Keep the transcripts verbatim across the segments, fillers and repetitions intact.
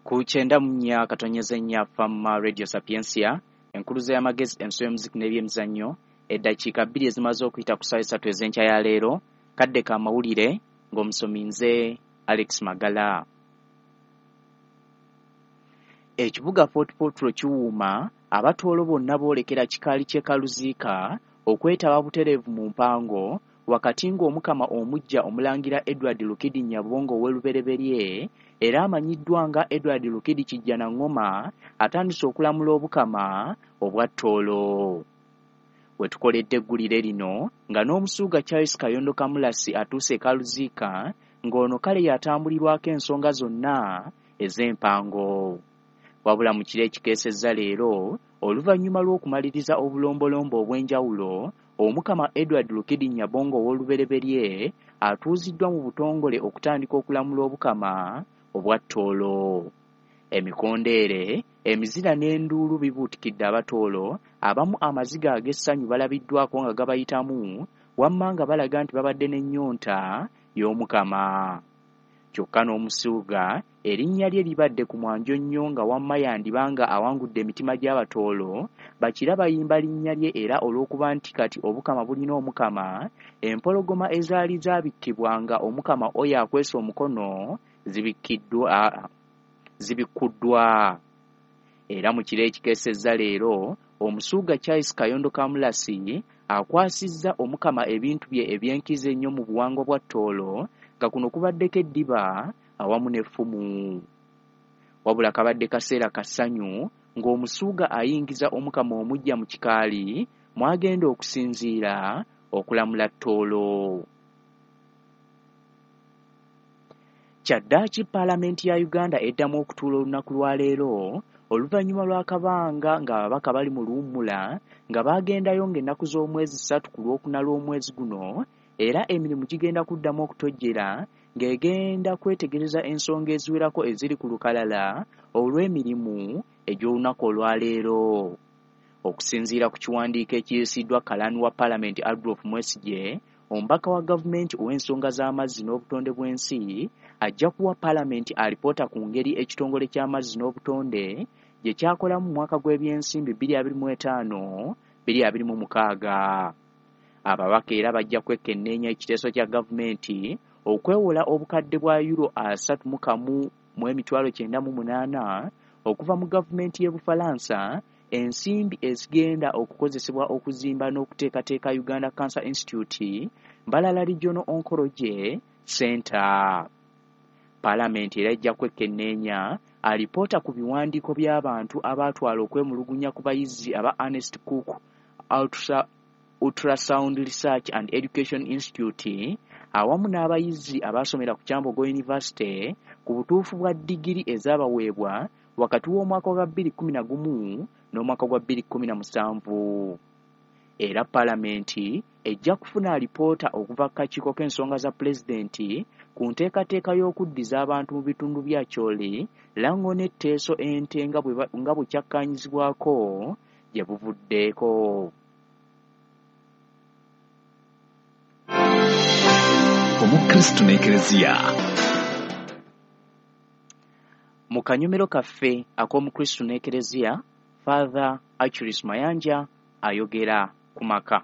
Ku kyenda mu nnya katonyeze nnya Fama Radio Sapientia, enkuluze y'amagezi, enso y'omuziki n'ebyemizannyo. Eddakiika bbiri ezimaze okuyita ku ssaawa esatu ez'enkya ya leero, kadde ka mawulire ng'omusomi nze Alex Magala. Ekibuga Fort Portal kiwuuma, Abatooro bonna boolekera kikaali ky'e Kaluziika okwetaba butereevu mu mpango, wakati ng'Omukama omuggya Omulangira Edward Lukidi Nyabongo ow'Olubereberye era amanyiddwa nga Edward Lukidi Kijjanangoma atandise okulamula Obukama obwa Tooro. We tukoledde eggulire lino nga n'Omusuuga Charles Kayondo Kamulasi atuuse e Kaluziika, ng'ono kale y'atambulirwako ensonga zonna ez'empango. Wabula mu kiro ekikeesezza leero, oluvannyuma lw'okumaliriza obulombolombo obw'enjawulo, Omukama Edward Lukidi Nyabongo ow'Olubereberye atuuziddwa mu butongole okutandika okulamula Obukama obwa Tooro. Emikondeere, emizira n'enduulu bibuutikidde Abatooro, abamu amaziga ag'essanyu balabiddwako nga gabayitamu, wamma nga balaga nti babadde n'ennyonta y'Omukama. Kyokka n'Omusuuga erinnya lye libadde ku mwanjo nnyo, nga wamma yandiba nga awangudde emitima gy'Abatooro, bakira bayimba linnya lye, era olw'okuba nti kati Obukama bulina Omukama, empologoma ezaali zaabikkibwa nga Omukama oyo akwese omukono zibikkiddwa zibikkuddwa. Era mu kiro ekikeesezza leero, Omusuuga Charles Kayondo Kamulasi akwasizza Omukama ebintu bye ebyenkizo ennyo mu buwangwa bwa Tooro, nga kuno kubaddeko eddiba awamu n'effumu. Wabula kabadde kaseera ka ssanyu ng'Omusuuga ayingiza Omukama omuggya mu kikaali mw'agenda okusinziira okulamula Tooro. Kyaddaaki Paalamenti ya Uganda eddamu okutuula olunaku lwa leero oluvannyuma lw'akabanga ng'ababaka bali mu luwummula, nga baagendayo ng'ennaku z'omwezi ssatu ku Lwokuna lw'omwezi guno, era emirimu gigenda kuddamu okutojjera ng'egenda kwetegereza ensonga eziwerako eziri ku lukalala olw'emirimu egy'olunaku olwaleero. Okusinziira ku kiwandiiko ekiyisiddwa Kalaani wa Paalamenti Adolf Mwesigye, omubaka wa gavumenti ow'ensonga z'amazzi n'obutonde bw'ensi ajja kuwa Paalamenti alipoota ku ngeri ekitongole ky'amazzi n'obutonde gye kyakolamu mu mwaka gw'ebyensimbi bbiri abiri mu etaano bbiri abiri mu mukaaga. Ababaka era bajja kwekenneenya ekiteeso kya gavumenti okwewola obukadde bwa euro asatu mu kamu mu emitwalo kyenda mu munaana okuva mu gavumenti y'e Bufalansa, ensimbi ezigenda okukozesebwa okuzimba n'okuteekateeka Uganda Cancer Institute Mbarara Regional Oncology Center. Paalamenti era ejja kwekenneenya alipoota ku biwandiiko by'abantu abaatwala okwemulugunya ku bayizi aba Ernest Cook Ultra Ultrasound Research and Education Institute awamu n'abayizi abaasomera ku Kyambogo University ku butuufu bwa ddigiri ezaabaweebwa wakati w'omwaka gwa bbiri kkumi na gumu n'omwaka gwa bbiri kkumi na musanvu. Era Paalamenti ejja kufuna alipoota okuva ku kakiiko k'ensonga za Pulezidenti ku nteekateeka y'okuddiza abantu mu bitundu bya Acholi, Lango ne Teso ente nga bwe kyakkaanyizibwako gye buvuddeko. Omukristu n'Ekereziya. Mu kanyomero kaffe ak'Omukristu n'Ekereziya, Father Achuris Mayanja ayogera ku maka.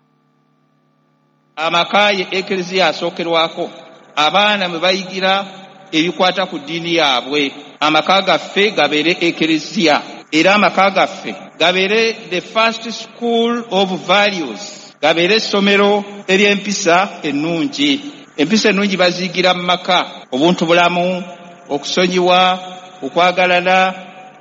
Amaka ye Ekereziya asookerwako, abaana mwe bayigira ebikwata ku ddiini yaabwe. Amaka gaffe gabeere Ekereziya, era amaka gaffe gabeere the first school of values, gabeere essomero ery'empisa ennungi. Empisa ennungi baziyigira mu maka: obuntu bulamu, okusonyiwa, okwagalana,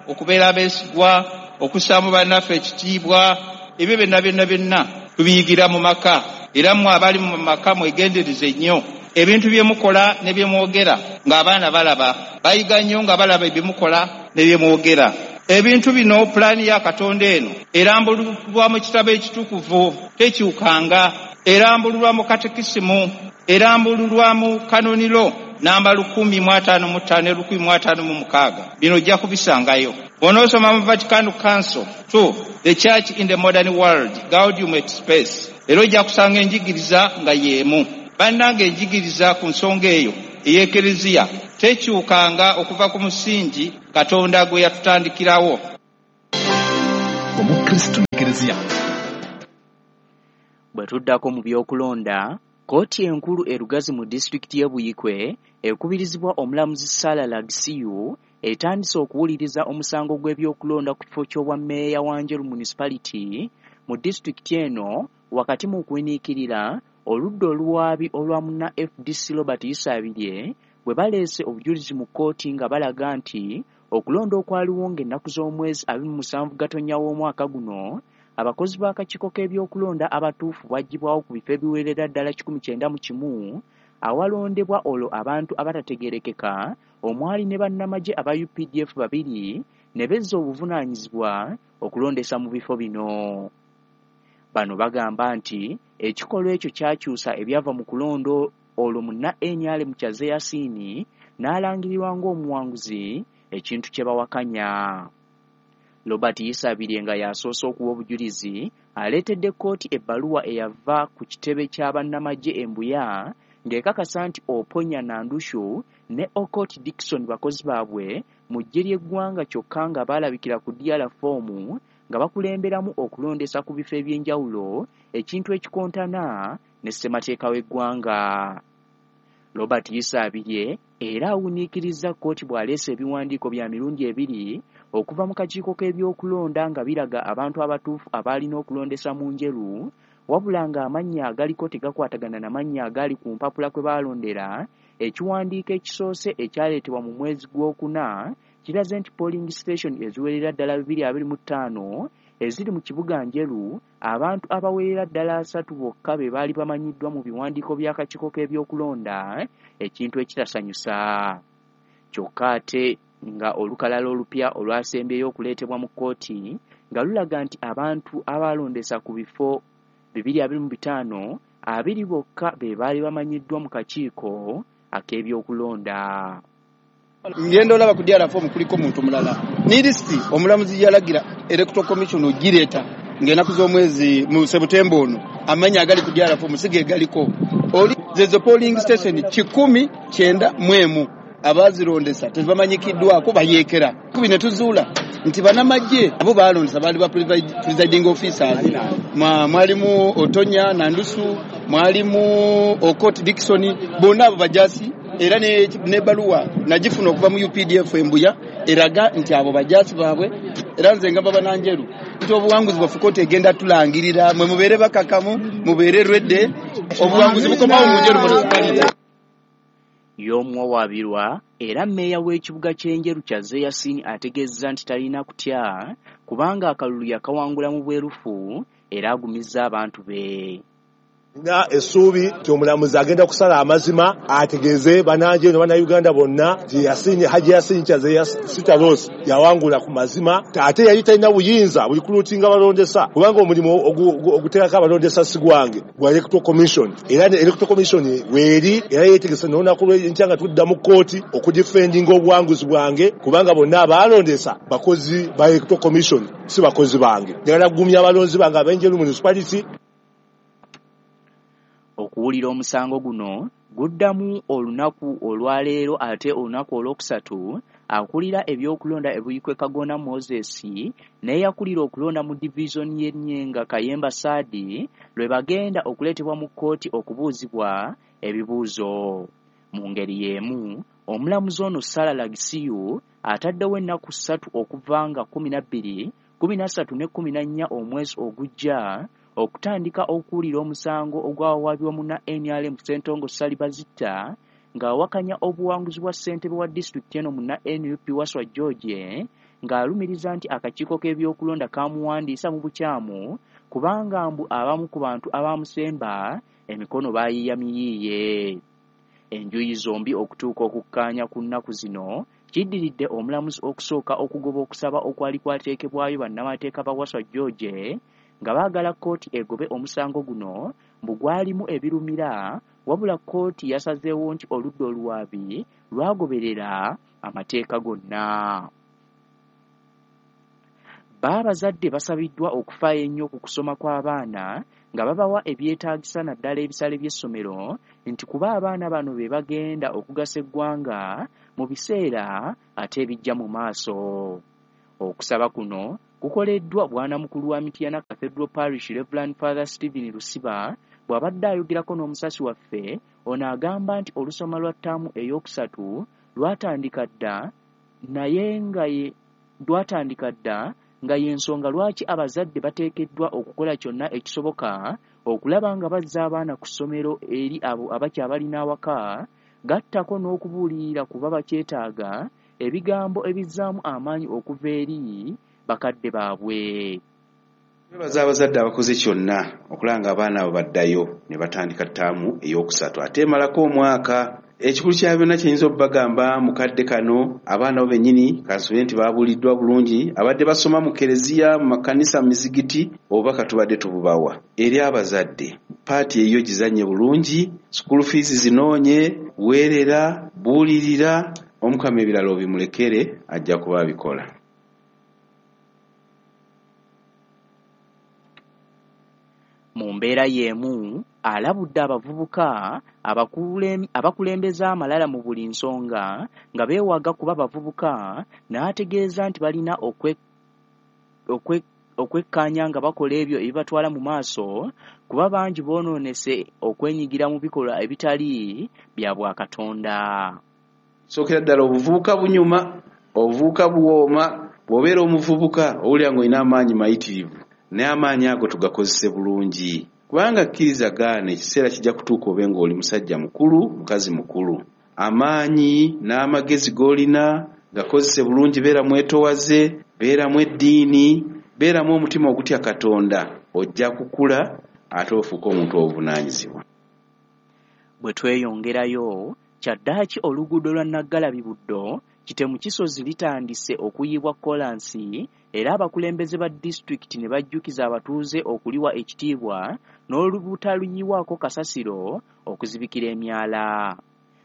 okubeera abeesigwa, okussaamu bannaffe ekitiibwa. Ebyo byonna byonna byonna tubiyigira mu maka. Era mmwe abali mu maka mwegendereze nnyo ebintu bye mukola ne bye mwogera ng'abaana balaba. Bayiga nnyo nga balaba ebye mukola ne bye mwogera. Ebintu bino, pulaani ya Katonda eno erambululwa mu kitabo ekitukuvu, tekyukanga, erambululwa mu katekisimu, erambululwa mu kanoniro namba lukumi mu ataano mu ttaano ne lukumi mu ataano mu mukaaga. Bino ojja kubisangayo. Bw'onoosoma mu Vatican Council two, The Church in the Modern World, Gaudium et Spes, era ojja kusanga enjigiriza nga y'emu. Bannange, enjigiriza ku nsonga eyo ey'Ekereziya Tekyukanga okuva ku musingi Katonda gwe yatutandikirawo. Omukristo n'Ekereziya. Bwe tuddako mu by'okulonda, kkooti enkulu e Lugazi mu disitulikiti y'e Buikwe ekubirizibwa omulamuzi Sarah Lagisiyu etandise okuwuliriza omusango gw'ebyokulonda ku kifo ky'obwa mmeeya wa Njeru Municipality mu disitulikiti eno wakati mu kuwiniikirira oludda oluwaabi olwa munna F D C Robert Isabirye bwe baleese obujulizi mu kkooti nga balaga nti okulonda okwaliwo ng'ennaku z'omwezi abiri mu musanvu Gatonnya w'omwaka guno abakozi b'akakiiko k'ebyokulonda abatuufu baggyibwawo ku bifo ebiwerera ddala kikumi kyenda mu kimu awalondebwa olwo abantu abatategeerekeka omwali ne bannamagye aba U P D F babiri ne bezza obuvunaanyizibwa okulondesa mu bifo bino. Bano bagamba nti ekikolwa ekyo kyakyusa ebyava mu kulonda olwo munna N R M Kyazze Yasini n'alangirirwa ng'omuwanguzi ekintu kye bawakanya. Robert Isabirye nga y'asoose okuwa obujulizi aleetedde kkooti ebbaluwa eyava ku kitebe kya bannamagye e Mbuya ng'ekakasa nti Oponya Nandushu ne Okot Dickson bakozi baabwe mu ggye ly'eggwanga kyokka nga baalabikira ku D R foomu nga bakulemberamu okulondesa ku bifo eby'enjawulo ekintu ekikontana ne ssemateeka w'eggwanga. Robert Isabirye era awuniikirizza kkooti bw'aleese ebiwandiiko bya mirundi ebiri okuva mu kakiiko k'ebyokulonda nga biraga abantu abatuufu abaalina okulondesa mu Njeru wabula ng'amannya agaliko tegakwatagana na mannya agaali ku mpapula kwe baalondera. Ekiwandiiko ekisoose ekyaleetebwa mu mwezi gw'okuna kiraze nti polling station eziwerera ddala bibiri abiri mu ttaano eziri mu kibuga Njeru abantu abawerera ddala asatu bokka be baali bamanyiddwa mu biwandiiko by'akakiiko k'ebyokulonda ekintu ekitasanyusa. Kyokka ate nga olukalala olupya olwasembyeyo okuleetebwa mu kkooti nga lulaga nti abantu abaalondesa ku bifo bibiri abiri mu bitaano abiri bokka be baali bamanyiddwa mu kakiiko ak'ebyokulonda. Ngenda olaba ku D R form kuliko muntu mulala. Ni lisiti omulamuzi yalagira Electoral Commission ogireeta ng'ennaku z'omwezi mu September ono amannya agali ku D R form si ge galiko. Oli zezo polling station kikumi kyenda mu emu abaazirondesa tebamanyikiddwako bayeekera. Kubi ne tuzuula nti bannamagye abo baalondesa baali ba presiding officers. Mwalimu Otonya Nandusu, mwalimu Okot Dickson, bonna abo bajasi era n'ebbaluwa nagifuna okuva mu U P D F Embuya eraga nti abo bajasi baabwe. Era nze ngamba bannanjeru nti obuwanguzi bwaffe kkooti egenda tulangirira, mwe mubeere bakakamu, mubeere lwedde, obuwanguzi bukomawo mu Njeru Municipality. Y'omuwawaabirwa era mmeeya w'ekibuga ky'Enjeru Kyazze Yasini ategeezezza nti talina kutya kubanga akalulu yakawangula mu bwerufu era agumizza abantu be. Nina essuubi nti omulamuzi agenda kusala amazima ategeeze bannanjeru ne bannayuganda bonna nti Yasini Haji Yasini Kyazze Sitalos yawangula ku mazima ate yali talina buyinza buli kulutinga balondesa kubanga omulimu oguteekako abalondesa si gwange gwa Electoral Commission era Electoral Commission weeri era yeetegese n'olunaku lw'enkya nga tudda mu kkooti okudifendinga obuwanguzi bwange kubanga bonna abaalondesa bakozi ba Electoral Commission si bakozi bange. Njagala kugumya abalonzi bange ab'Enjeru Municipality. Okuwulira omusango guno guddamu olunaku olwaleero ate olunaku olwokusatu akulira ebyokulonda e Buikwe Kagona Moses n'eyakulira okulonda mu divizoni y'e Nyenga Kayemba Saadi lwe bagenda okuleetebwa mu kkooti okubuuzibwa ebibuuzo. Mu ngeri y'emu omulamuzi ono Sarah Lagisiyu ataddewo ennaku ssatu okuva nga kkumi na bbiri, kkumi na ssatu ne kkumi na nnya omwezi ogujja okutandika okuwulira omusango ogwawaabibwa munna N R M Ssentongo Ssali Bazitta ng'awakanya obuwanguzi bwa ssentebe wa disitulikiti eno munna N U P Waswa George ng'alumiriza nti akakiiko k'ebyokulonda kamuwandiisa mu bukyamu kubanga mbu abamu ku bantu abamusemba emikono baayiiya miyiiye. Enjuyi zombi okutuuka okukkaanya ku nnaku zino kiddiridde omulamuzi okusooka okugoba okusaba okwali kwateekebwayo bannamateeka ba Waswa George nga baagala kkooti egobe omusango guno mbu gwalimu ebirumira wabula kkooti yasazeewo nti oludda oluwaabi lwagoberera amateeka gonna. Baabazadde basabiddwa okufaayo ennyo ku kusoma kw'abaana nga babawa ebyetaagisa naddala ebisale by'essomero nti kuba abaana bano be bagenda okugasa eggwanga mu biseera ate ebijja mu maaso. Okusaba kuno kukoleddwa bwanamukulu wa Mityana Cathedral Parish Reverend Father Stephen Lusiba bw'abadde ayogerako n'omusasi waffe. Ono agamba nti olusoma lwa ttaamu ey'okusatu lwatandika dda naye nga ye lwatandika dda nga y'ensonga lwaki abazadde bateekeddwa okukola kyonna ekisoboka okulaba nga bazza abaana ku ssomero eri abo abakyabalina awaka, gattako n'okubuulirira kuba bakyetaaga ebigambo ebizzaamu amaanyi okuva eri bakadde baabwe. Twebaza abazadde abakoze kyonna okulaba nga abaana abo baddayo ne batandika ttaamu ey'okusatu ate emalako omwaka. Ekikulu kya byonna kye nnyinza okubagamba mu kadde kano, abaana bo bennyini kansuubire nti baabuuliddwa bulungi, abadde basoma mu kereziya, mu makanisa, mu mizigiti, obubaka tubadde tububawa. Eri abazadde, paati eyo gizannye bulungi, school fees zinoonye, weerera, buulirira, Omukama ebirala obimulekere ajja kuba abikola. Mu mbeera y'emu alabudde abavubuka abakulembeza amalala mu buli nsonga nga beewaga kuba bavubuka, n'ategeeza nti balina okwekkaanya nga bakola ebyo ebibatwala mu maaso kuba bangi boonoonese okwenyigira mu bikolwa ebitali bya bwakatonda. Sookera ddala obuvubuka bunyuma, obuvubuka buwooma. Bw'obeera omuvubuka owulira ng'olina amaanyi mayitirivu, naye amaanyi ago tugakozese bulungi, kubanga kkiriza gaana ekiseera kijja kutuuka obe ng'oli musajja mukulu, mukazi mukulu. Amaanyi n'amagezi g'olina gakozese bulungi, beera mwetowaze, beeramu eddiini, beeramu omutima ogutya Katonda, ojja kukula ate ofuuke omuntu obuvunaanyizibwa. Bwe tweyongerayo, kyaddaaki oluguudo lwa Naggalabi Buddo Kitemu Kisozi litandise okuyibwa kolansi era abakulembeze ba disitulikiti ne bajjukiza abatuuze okuliwa ekitiibwa n'olubutaluyiwako kasasiro okuzibikira emyala.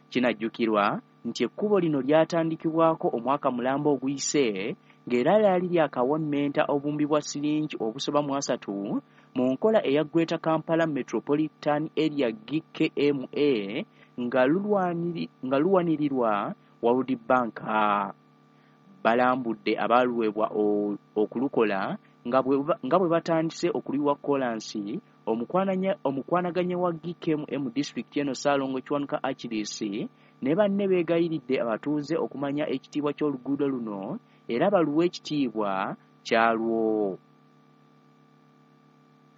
Kinajjukirwa nti ekkubo lino lyatandikibwako omwaka mulamba oguyise ng'era lyali lyakawemmenta obuwumbi bwa siringi obusoba mu asatu mu nkola eya Greater Kampala Metropolitan Area G K M A nga luwanirirwa World Bank. Balambudde abaaluweebwa okulukola nga bwe batandise okuliwa kolansi. Omukwanaganya wa G K M A mu disitulikiti eno Ssaalongo Kiwanuka Achilles ne banne beegayiridde abatuuze okumanya ekitiibwa ky'oluguudo luno era baluwe ekitiibwa kyalwo.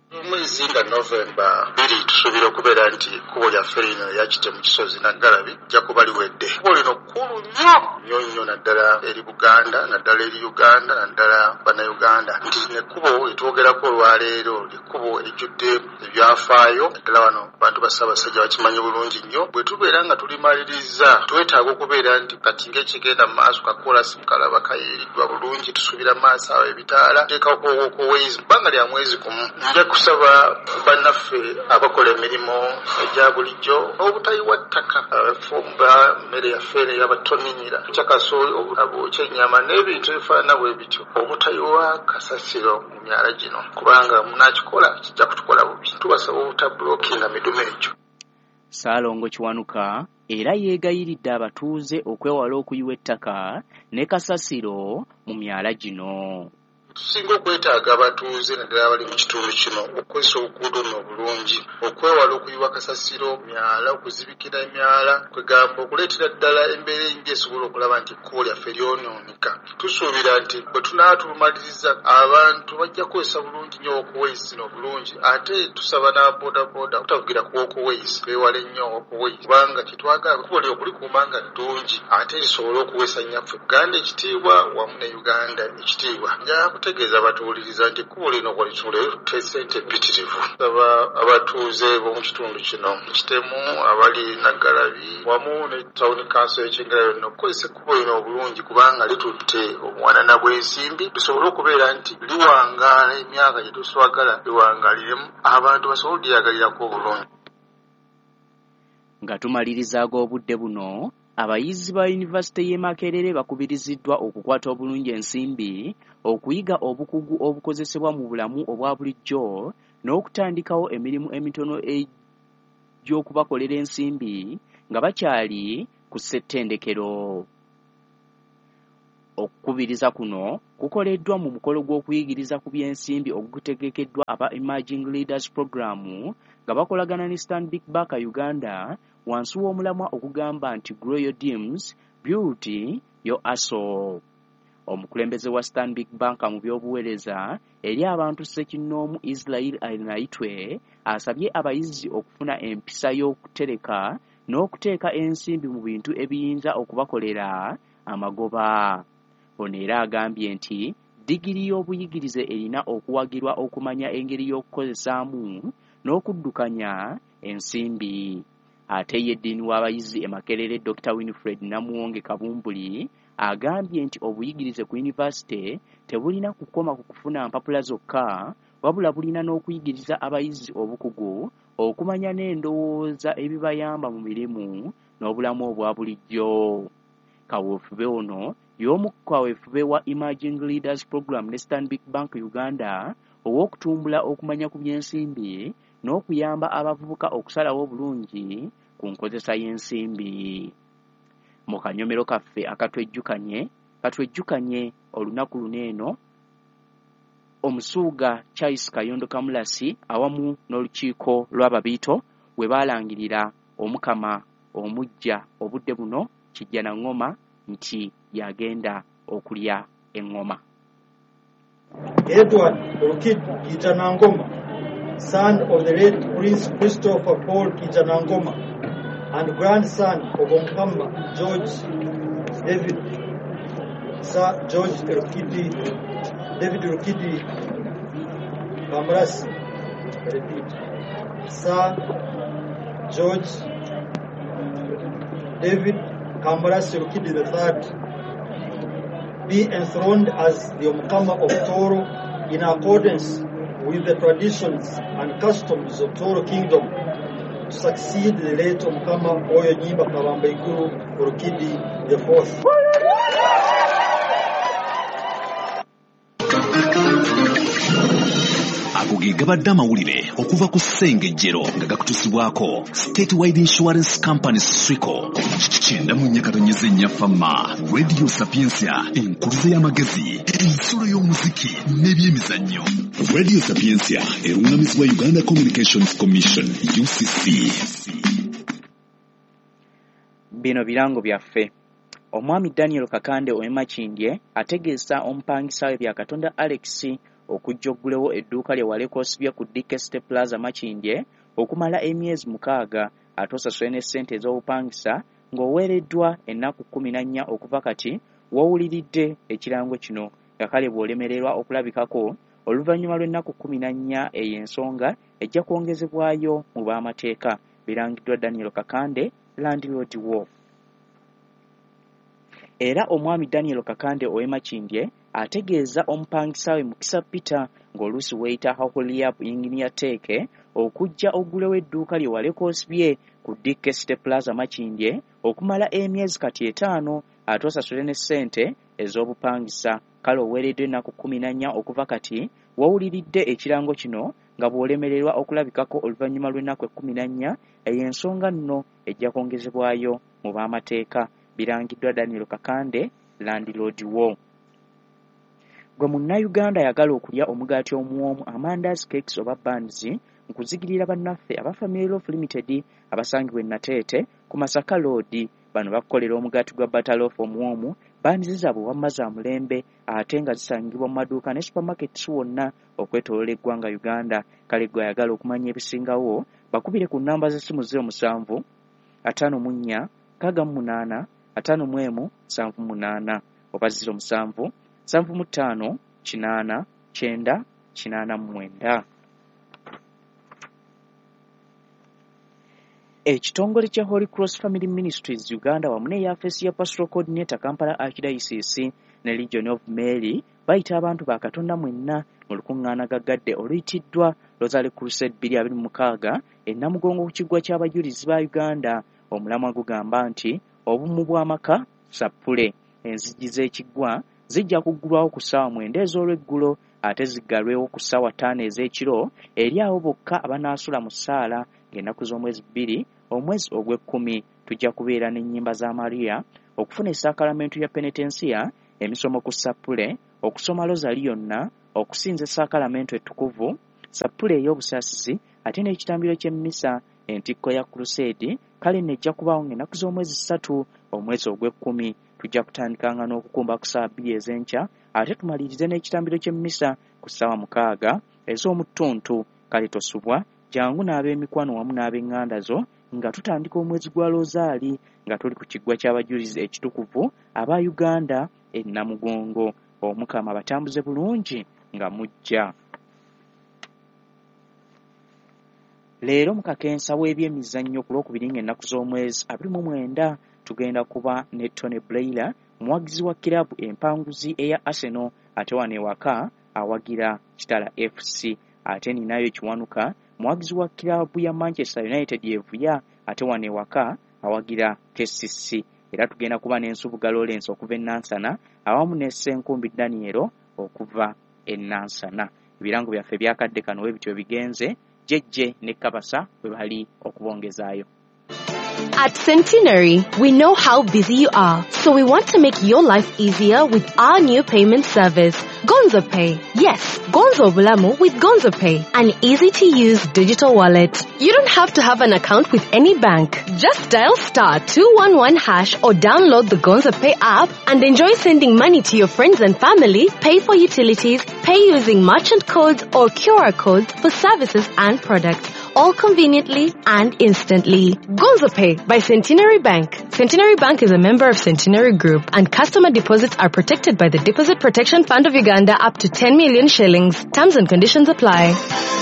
Omwezi nga Novemba bbiri tusuubira okubeera nti ekkubo lyaffe lino erya Kitemu Kisozi Naggalabi lijja kuba liwedde. Ekkubo lino kkulu nnyo nnyo nnyo naddala eri Buganda, naddala eri Uganda, naddala Bannayuganda. Nti lino ekkubo lyetwogerako olwaleero ly'ekkubo erijjudde ebyafaayo, naddala wano bantu ba Ssaabasajja bakimanyi bulungi nnyo. Bwe tubeera nga tulimaliriza twetaaga okubeera nti kati ng'ekigenda mu maaso kakoolasi mukalaba kayiiriddwa bulungi, tusuubira mu maaso awo ebitaala, tuteekako walkways mu bbanga lya mwezi gumu. Nja kusaba bannaffe abakola emirimu egya bulijjo obutayiwa ttaka, abafumba mmere yaffe eno ey'abatoninyira, kyakasooli, obwokya ennyama n'ebintu ebifaanana bwe bityo, obutayiwa kasasiro mu myala gino, kubanga munaakikola kijja kutukola bubi. Tubasaba obutabulookinga midumu egyo. Ssaalongo Kiwanuka era yeegayiridde abatuuze okwewala okuyiwa ettaka ne kasasiro mu myala gino. Tusinga okwetaaga abatuuze naddala abali mu kitundu kino okukozesa oluguudo luno obulungi, okwewala okuyiwa kasasiro myala, okuzibikira emyala, kwegamba okuleetera ddala embeera embi esobola okulaba nti ekkubo lyaffe lyonooneka. Tusuubira nti bwe tunaaba tulumaliriza abantu bajja kukozesa bulungi nnyo walkways zino obulungi, ate tusaba n'ababoodabooda obutavugira ku walkways, beewale nnyo walkways, kubanga kyetwagala ekkubo lyo okulikuuma nga ddungi ate lisobole okuweesa nnyaffe Buganda ekitiibwa wamu ne Uganda ekitiibwa. Nja kutegeeza abatuwuliriza nti ekkubo lino walituule litutte ssente mpitirivu. Nsaba abatuuze b'omu kitundu kino Kitemu, abali Naggalabi wamu ne tawuni kanso y'Ekyengera yonna okukozesa ekkubo lino obulungi, kubanga litutte obuwanana bw'ensimbi lisobole okubeera nti liwangaala emyaka gye tuswagala liwangaaliremu, abantu basobole okulyagalirako obulungi. Nga tumaliriza ag'obudde buno, Abayizi ba yunivasite y'e Makerere bakubiriziddwa okukwata obulungi ensimbi, okuyiga obukugu obukozesebwa mu bulamu obwa bulijjo n'okutandikawo emirimu emitono egy'okubakolera ensimbi nga bakyali ku ssettendekero. Okukubiriza kuno kukoleddwa mu mukolo gw'okuyigiriza ku by'ensimbi ogutegekeddwa aba Emerging Leaders Program nga bakolagana ne Stanbic Bank Uganda wansi w'omulamwa ogugamba nti Grow Your Dreams, Build Your Hustle. Omukulembeze wa Stanbic Bank mu by'obuweereza eri abantu ssekinnoomu Israel Arinaitwe asabye abayizi okufuna empisa y'okutereka n'okuteeka ensimbi mu bintu ebiyinza okubakolera amagoba. Ono era agambye nti ddigiri y'obuyigirize erina okuwagirwa okumanya engeri y'okukozesaamu n'okuddukanya ensimbi. Ate ye ddiini w'abayizi e Makerere Dokita Winfred Namuwonge Kabumbuli agambye nti obuyigirize ku yunivasite tebulina kukoma ku kufuna mpapula zokka, wabula bulina n'okuyigiriza abayizi obukugu okumanya n'endowooza ebibayamba mu mirimu n'obulamu obwa bulijjo. Kaweefube ono y'omu ku kaweefube wa Emerging Leaders Program ne Stanbic Bank Uganda ow'okutumbula okumanya ku by'ensimbi n'okuyamba abavubuka okusalawo obulungi ku nkozesa y'ensimbi. Mu kanyomero kaffe akatwejjukanye katwejjukanye olunaku luno eno Omusuuga Charles Kayondo Kamulasi awamu n'olukiiko lw'Ababiito we baalangirira Omukama omuggya obudde buno Kijjanangoma nti yagenda okulya eŋŋoma. Edward Rukidi Kijanangoma, son of the late Prince Christopher Paul Kijanangoma and grandson of Omukama George David Sir George Rukidi David Rukidi Kamurasi, repeat, Sir George David Kamurasi Rukidi the Third, be enthroned as the Omukama of Toro in accordance with the traditions and customs of Toro Kingdom, to succeed the late Omukama Oyo Nyimba Kabambaiguru Rukidi the Fourth. Ago ge gabadde amawulire okuva ku Ssengejjero nga gakutusibwako Statewide Insurance Company Swico. Kyenda mu nnya katonyeze nnya Fama, Radio Sapientia, enkuluze y'amagezi, ensulo y'omuziki n'ebyemizannyo. Radio Sapientia erungamizibwa Uganda Communications Commission U C C. Bino birango byaffe. Omwami Daniel Kakande ow'e Makindye ategeeza omupangisa we Byakatonda Alex okujja oggulewo edduuka lye waleka osibye ku D K City Plaza Makindye okumala emyezi mukaaga ate osasule ne ssente ez'obupangisa ng'oweereddwa ennaku kkumi na nnya okuva kati w'owuliridde ekirango kino, nga kale bw'olemererwa okulabikako oluvannyuma lw'ennaku kkumi na nnya eyo ensonga ejja kwongezebwayo mu b'amateeka. Birangiddwa Daniel Kakande, landlord wo. Era omwami Daniel Kakande ow'e Makindye ategeeza omupangisa we Mukisa Peter ng'oluusi weeyita Haholiap Engineer Teeke okujja oggulewo edduuka lye waleka osibye ku D K City Plaza Makindye okumala emyezi kati etaano ate osasule ne ssente ez'obupangisa. Kale oweereddwa ennaku kkumi na nnya okuva kati w'owuliridde ekirango kino nga bw'olemererwa okulabikako oluvannyuma lw'ennaku ekkumi na nnya eyo ensonga nno ejja kwongezebwayo mu b'amateeka. Birangiddwa Daniel Kakande, landlord wo. Gwe munnayuganda ayagala okulya omugaati omuwoomu, amandazi, cakes oba buns, nkuzigirira bannaffe aba Family Loaf Limited abasangibwa e Nateete ku Masaka Road. Bano bakukolera omugaati gwa butter loaf omuwoomu, buns zaabwe wamma za mulembe ate nga zisangibwa mu maduuka ne supermarkets wonna okwetooloola eggwanga Uganda. Kale gwe ayagala okumanya ebisingawo bakubire ku nnamba z'essimu zero musanvu ataano mu nnya nkaaga mu munaana ataano mu emu nsanvu munaana oba zero musanvu nsanvu mu ttaano kinaana kyenda kinaana mu mwenda. Ekitongole kya Holy Cross Family Ministries Uganda wamu n'eyafeesi ya Pastoral Coordinator Kampala Archdiocese ne Legion of Mary bayita abantu ba Katonda mwenna mu lukuŋŋaana gaggadde oluyitiddwa Rosary Crusade bbiri abiri mu mukaaga e Namugongo ku kiggwa ky'abajulizi ba Uganda. Omulamwa gugamba nti Obumu bw'amaka, Sappule. Enzigi z'ekiggwa zijja kuggulwawo ku ssaawa mwenda ez'olweggulo ate ziggalwewo ku ssaawa ttaano ez'ekiro eri abo bokka abanaasula mu ssaala ng'ennaku z'omwezi bbiri omwezi ogw'ekkumi. Tujja kubeera n'ennyimba za Maria, okufuna essaakalamentu ya penetensiya, emisomo ku Sappule, okusoma Lozali yonna, okusinza essaakalamentu ettukuvu, Sappule ey'obusaasizi, ate n'ekitambiro ky'emmisa, entikko ya Crusade. Kale nno ejja kubaawo ng'ennaku z'omwezi ssatu omwezi ogw'ekkumi. Tujja kutandikanga n'okukumba ku ssaawa bbiri ez'enkya ate tumalirize n'ekitambiro ky'emmisa ku ssaawa mukaaga ez'omuttuntu. Kale tosubwa, jangu n'ab'emikwano wamu n'ab'eŋŋanda zo nga tutandika omwezi gwa Lozaali nga tuli ku kiggwa ky'abajulizi ekitukuvu aba Uganda e Namugongo. Omukama batambuze bulungi nga mujja. Leero mu kakensa w'ebyemizannyo ku Lwokubiri ng'ennaku z'omwezi abiri mu mwenda tugenda kuba ne Tony Blair, muwagizi wa kiraabu empanguzi eya Arsenal, ate wano ewaka awagira Kitala F C. Ate ninayo Kiwanuka, muwagizi wa kiraabu ya Manchester United evuya, ate wano ewaka awagira K C C. Era tugenda kuba n'Ensubuga Lawrence okuva e Nansana awamu ne Ssenkumbi Daniel okuva e Nansana. Ebirango byaffe byakadde kano we bityo bigenze, Jejje ne Kabasa bwe bali okubongezaayo. At Centenary, we know how busy you are, so we want to make your life easier with our new payment service, Gonzo Pay. Yes, Gonzo Bulamu with Gonzo Pay, an easy-to-use digital wallet. You don't have to have an account with any bank. Just dial star two one one hash or download the Gonzo Pay app and enjoy sending money to your friends and family, pay for utilities, pay using merchant codes or Q R codes for services and products, all conveniently and instantly. Gonzo Pay by Centenary Bank. Centenary Bank is a member of Centenary Group, and customer deposits are protected by the Deposit Protection Fund of Uganda up to ten million shillings. Terms and conditions apply.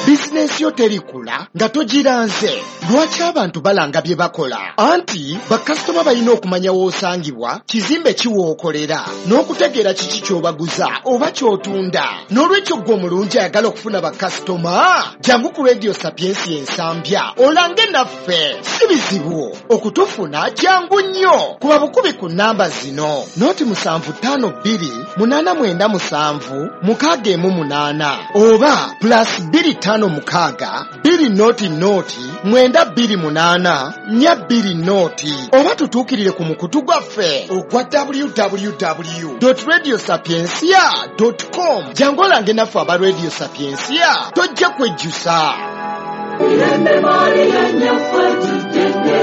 Bizinensi yo terikula nga togiranze. Lwaki abantu balanga bye bakola? Anti bakasitoma balina okumanya w'osangibwa, kizimbe ki w'okolera, n'okutegeera kiki ky'obaguza oba ky'otunda. N'olwekyo ggwe omulungi ayagala okufuna bakasitoma, jangu ku Radio Sapiensia Ensambya olange naffe. Si bizibu okutufuna, jangu nnyo. Kuba bukubi ku nnamba zino: noti musanvu ttaano bbiri munaana mwenda musanvu mukaaga emu munaana oba plus bbiri ttaano mukaaga bbiri noti noti mwenda bbiri munaana nnya bbiri noti, oba tutuukirire ku mukutu gwaffe ogwa w w w dot radio sapiensia dot com. Jangu olange naffe aba Radio Sapiensia, tojja kwejjusa.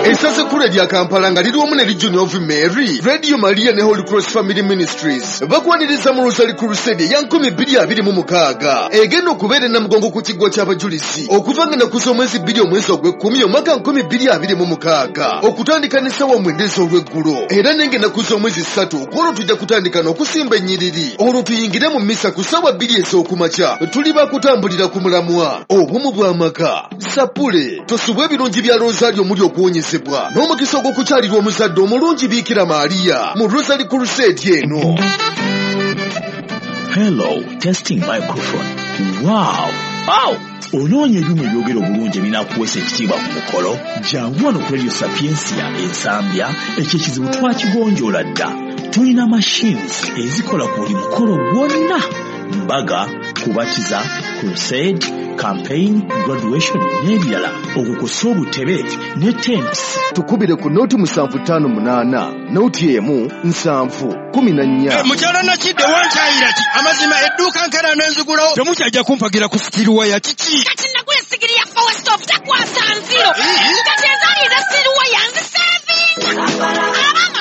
Essaza ekkulu erya Kampala nga liri wamu ne Legion of Mary, Radio Maria ne Holy Cross Family Ministries bakwaniriza mu Rosary Crusade eya nkumi bbiri abiri mu mukaaga egenda okubeera e Namugongo ku kiggwa ky'abajulizi okuva nga ennaku z'omwezi bbiri omwezi ogw'ekkumi omwaka nkumi bbiri abiri mu mukaaga okutandika n'essaawa mwenda ez'olweggulo. Era n'enga ennaku z'omwezi ssatu kwolwo tujja kutandika n'okusimba ennyiriri, olwo tuyingire mu mmisa ku ssaawa bbiri ez'okumakya. Tuli bakutambulira ku mulamwa obumu bw'amaka. Sappule, tosubwa ebirungi bya Rosario omuli okuwonyezebwa n'omukisa ogw'okukyalirwa omuzadde omulungi Biikira Maria mu Rosary Crusade eno. Hello, testing microphone. Wow! Wow! Onoonya ebyuma ebyogera obulungi ebinaakuweesa ekitiibwa ku mukolo? Jangu wano ku Radio Sapiensia Ensambya, ekyo ekizibu twakigonjoola dda. Tulina machines ezikola ku buli mukolo gwonna: mbaga, kubatiza, crusade, campaign, graduation n'ebirala. Okukosa obutebe ne tents. Tukubire ku noti musanvu ttaano munaana noti emu nsanvu kumi na nnya. Mukyala Nakidde wankyayira ki? Amazima edduuka nkera n'enzigulawo. Temukyajja kumpagira ku sitiruwaya kiki? Kati nagula essigiri ya power stove takwasa nziro. Kati ezaali eza sitiruwaya nzisevinga.